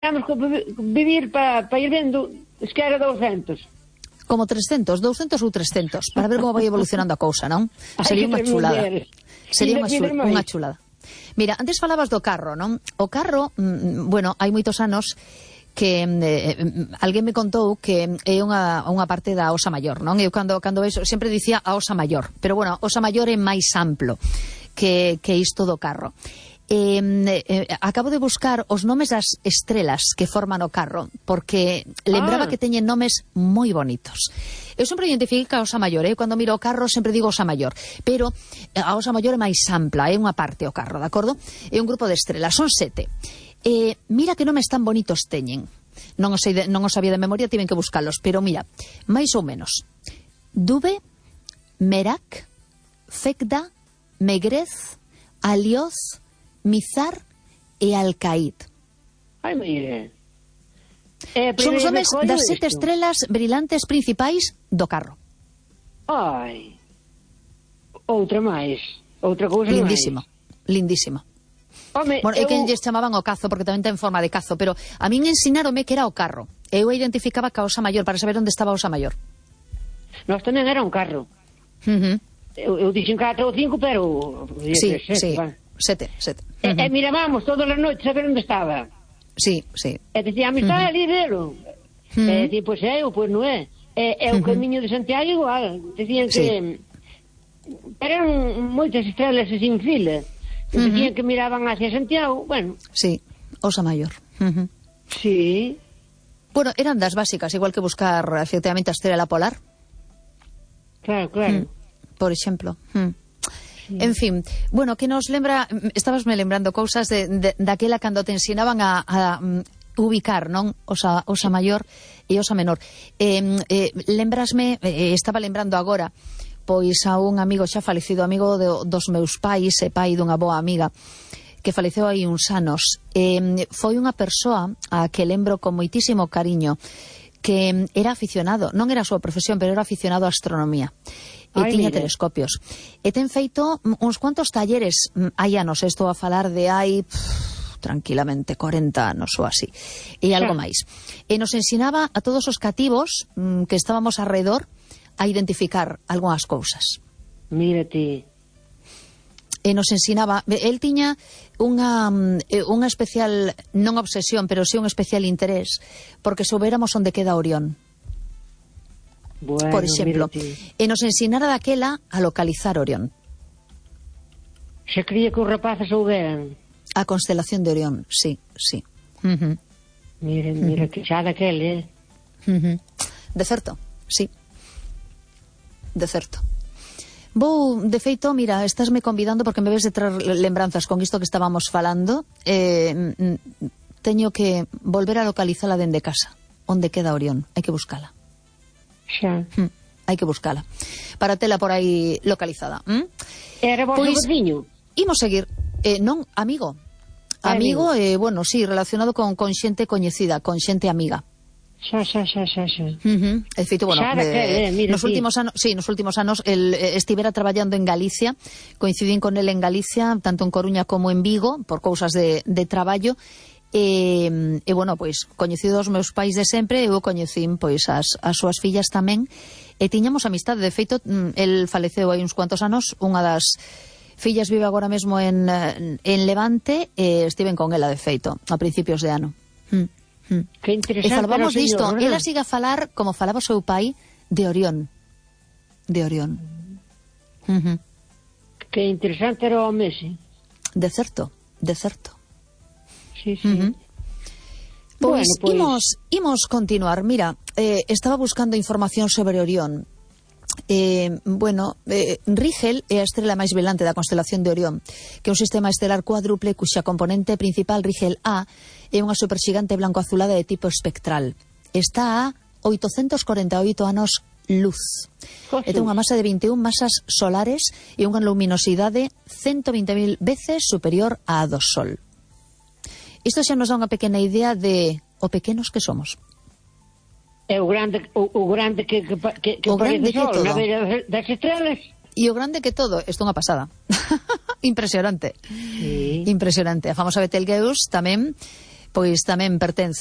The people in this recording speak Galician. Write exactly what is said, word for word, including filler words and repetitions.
temos que vivir para pa ir vendo, es que era douscentos. Como trescentos, douscentos ou trescentos, para ver como vai evolucionando a cousa, non? Sería unha chulada. Sería unha, chul unha chulada. Mira, antes falabas do carro, non? O carro, mm, bueno, hai moitos anos que eh, alguén me contou que é unha, unha parte da Osa Maior, non? Eu cando, cando vexo, sempre dicía a Osa Maior, pero bueno, a Osa Maior é máis amplo que, que isto do carro. Eh, eh, acabo de buscar os nomes das estrelas que forman o carro, porque lembraba ah. que teñen nomes moi bonitos. Eu sempre identifiquei que a Osa Maior, eh? Cando miro o carro sempre digo Osa Maior, pero a Osa Maior é máis ampla, é unha parte o carro, de acordo? É un grupo de estrelas, son sete. Eh, mira que nomes tan bonitos teñen. Non os, de, non os sabía de memoria, tiven que buscalos, pero mira, máis ou menos. Dube, Merak, Fekda, Megrez, Alioz, Mizar e Alcaid. Ai, mire. Eh, Son os nomes das sete isto. estrelas brillantes principais do carro. Ai. Outra máis. Outra cousa lindísimo, máis. Lindísimo. Home, bueno, é eu... que lles chamaban o cazo, porque tamén ten forma de cazo, pero a min ensinaronme que era o carro. Eu identificaba que a Osa Maior, para saber onde estaba a Osa Maior. Nós tamén era un carro. Uh -huh. Eu, eu dixen catro ou cinco, pero... Sí, sete, sí, va. sete, sete. Uh -huh. E, e mirábamos todas as noites a ver onde estaba. Sí, sí. E dicíamos, está uh -huh. ali, velo. Uh -huh. E dicían, pois é, ou pois non é. E, e o uh -huh. camiño de Santiago igual. Dicían que... Sí. Eran moitas estrelas sin fila. Uh -huh. Dicían que miraban hacia Santiago, bueno. Sí, Osa Maior. Uh -huh. Sí. Bueno, eran das básicas, igual que buscar efectivamente a estrela polar. Claro, claro. Mm, por exemplo. Mm. Sí. En fin, bueno, que nos lembra, estabas me lembrando cousas de, de, daquela cando te ensinaban a, a um, ubicar, non? Osa, Osa Maior e Osa Menor. Eh, eh, lembrasme, eh, estaba lembrando agora, pois a un amigo xa falecido, amigo de, dos meus pais e pai dunha boa amiga, que faleceu hai uns anos. Eh, foi unha persoa a que lembro con moitísimo cariño, que era aficionado, non era a súa profesión, pero era aficionado á astronomía. E Ay, tiña mire. telescopios. E ten feito uns cuantos talleres, hai anos, estou a falar de hai... Pff, tranquilamente corenta anos ou así, e algo máis. E nos ensinaba a todos os cativos mm, que estábamos alrededor a identificar algunhas cousas. Mírate. E nos ensinaba, el tiña unha, unha especial, non obsesión, pero sí un especial interés, porque soubéramos onde queda Orión. Bueno, por exemplo, mírate. E nos ensinara daquela a localizar Orión. Se cría que os rapaces souberan. A constelación de Orión, sí, sí. Uh -huh. Mira, mira, uh -huh. que xa daquele, eh? Uh -huh. De certo, sí. De certo. Vou, de feito, mira, estásme convidando porque me ves de traer lembranzas con isto que estábamos falando. Eh, teño que volver a localizala dende casa. Onde queda Orión? Hai que buscala. Xa. Hm, hai que buscala. Para tela por aí localizada. ¿Mm? Era vos pois, o veciño? Imos seguir. Eh, non, amigo. Amigo, eh, bueno, sí, relacionado con, con xente coñecida, con xente amiga. Xa, xa, xa, xa, xa. Uh -huh. De feito, bueno, xa, eh, eh, mira, nos últimos anos, sí, nos últimos anos el eh, estivera traballando en Galicia, coincidín con el en Galicia, tanto en Coruña como en Vigo, por cousas de, de traballo. E, e bueno, pois, coñecidos os meus pais de sempre, eu coñecín, pois, as, as súas fillas tamén, e tiñamos amistade. De feito, el faleceu hai uns cuantos anos, unha das fillas vive agora mesmo en, en Levante, e estiven con ela, de feito, a principios de ano. Mm. Mm. Que interesante. E falamos disto, señor, ela siga a falar, como falaba o seu pai, de Orión. De Orión. Uh -huh. Que interesante era o Messi. De certo, de certo. Sí, sí. Uh -huh. Pois, bueno, pois... imos, imos continuar. Mira, eh, estaba buscando información sobre Orión. Eh, bueno, eh, Rigel é a estrela máis velante da constelación de Orión, que é un sistema estelar cuádruple cuxa componente principal, Rigel A, é unha superxigante blanco-azulada de tipo espectral. Está a oitocentos corenta e oito anos luz. E ten unha masa de vinte e un masas solares e unha luminosidade ciento vinte mil veces superior á do Sol. Isto xa nos dá unha pequena idea de o pequenos que somos. É o grande, o, o grande que, que, que, que o grande parece que sol, na beira das estrelas. E o grande que todo, isto é unha pasada. Impresionante. Sí. Impresionante. A famosa Betelgeuse tamén, pois tamén pertence